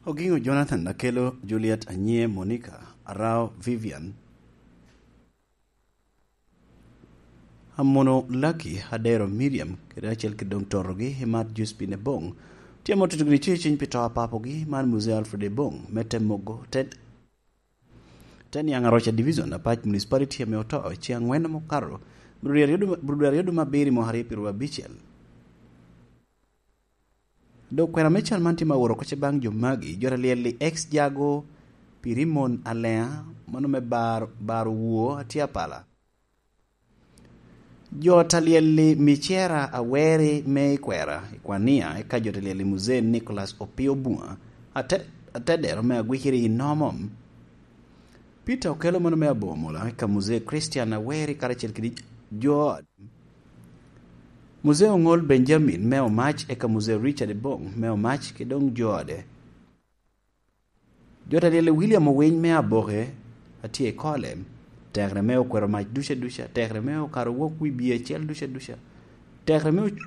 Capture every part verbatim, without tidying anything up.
Ogingo Jonathan, Akelo Juliet, Anyie Monica, Arao Vivian, Amono Lucky, Adero Miriam, kede acel kede doŋ torogi, Imat Josephine Ebong. Tye amo tutugi ni ceciny pi to a papogi, man Muzee Alfred Ebong, me te mogo, te, te niaŋ Aroca Division, Apac Municipality, ame oto, ci aŋwen ame okato, bro dwe aryo dum-, bro dwe aryo dum abiri mwaka aryo pyeraryo abicel. Dok kwena me cal man tye ma oro oko ce baŋ jo magi, jo ta lyel-li ex Jago, Pirimon Alea, mano me bar, bar Owuo, atye apala. Jo ta lyel-li Micera Aweri me Ikwera, Ikwania, eka jo ta lyel-li Muzee Nicholas Opio Bunga, ate-, atedero me Agwiciri i Nomom. Peter Okelo mano me Abomola, eka Muzee Christian Aweri karacel kede jo Muzee Oŋol Benjamin me Omac, eka Muzee Richard Ebong me Omac, kede doŋ jo ode. Jo ta lyel-li William Owiny me Aboke, atye i kole, tekere me okwero mac duca duca, tekere me okaro wok wi bie acel duca duca, tekere me oc-,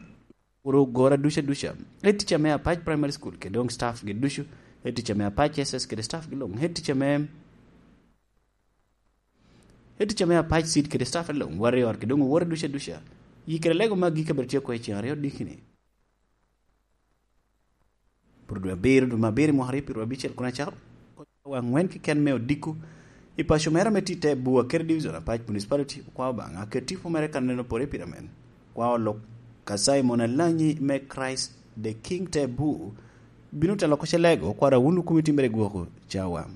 okuro gora duca duca, head teacher me Apac Primary School, kede doŋ staff gi ducu, head teacher me Apac S S kede staff gi luŋ, head teacher me Ento ca me Apac Seed kede staff along, Warrior kede doŋ owote duca duca. Yi kede lego magi ka bene tye oko i ceng aryo dikini. Pur dwe abiro, dwe me abiro, mwaka aryo pyeraryo abicel, kun acako wa aŋwen keken me odiko i paco mere ame tye i te Bua kede Division Apac Municipality, okwao Obaŋa ket tipo mere ka neno pore i pira men. Okwao lok ka Simon Alanyi me Christ the King te Bu, bino telo oko ce lego, okwao da wun okomi timere gwoko cawa.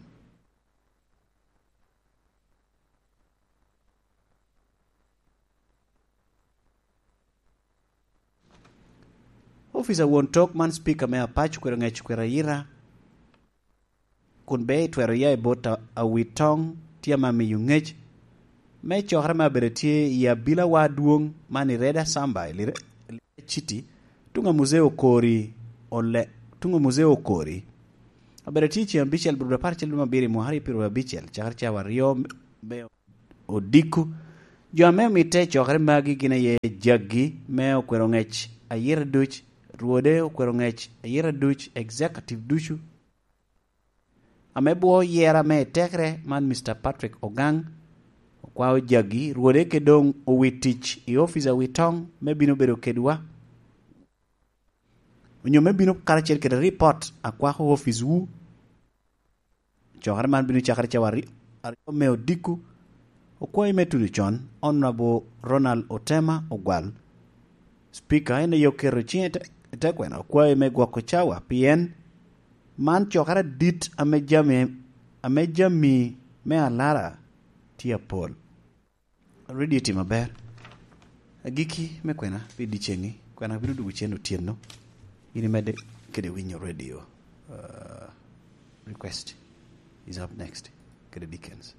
Ofica won tok man, Speaker me Apac okwero ŋec okwero ayira, kun be itwero ya i bot a-, awi toŋ tye ame miyo ŋec me cokere me abedo tye i abilawa adwoŋ man i Reda Samba i Lire-, Lire City, tuŋ a Muzee Okori ole-, tuŋ a Muzee Okori. Abedo tye i ceng abicel, bur apar acel dwe me abiro i mwaka aryo pyeraryo abicel, cakere cawa aryo me odiko. Jo ame omitte i cokere magi gin aye jaggi me okwero ŋec ayira duc, rwode okwero ŋec ayira duc, executive ducu ame bwo yera me tekere man, Mister Patrick Ogang, okwao jaggi, rwode kede doŋ owi tic i ofice awi toŋ me bino bedo kedwa. Onyo me bino karacel kede ripot a kwako oficewu. Cokere man bino cakere cawa ari-, aryo me odiko. Okwayi me tuno con, Honorable Ronald Otema Ogwal. Speaker en aye oketo ciŋe i te, i te kwena okwayi me gwoko cawa, pien man cokere adit ame jami, ame jami me alara tye apol. Radio tye maber. Agikki me kwena pi dyeceŋ-ŋi, kwena bino dwogo cen otyeno. In imedde kede winyo radio. Uh, request is up next. Kede Dickens.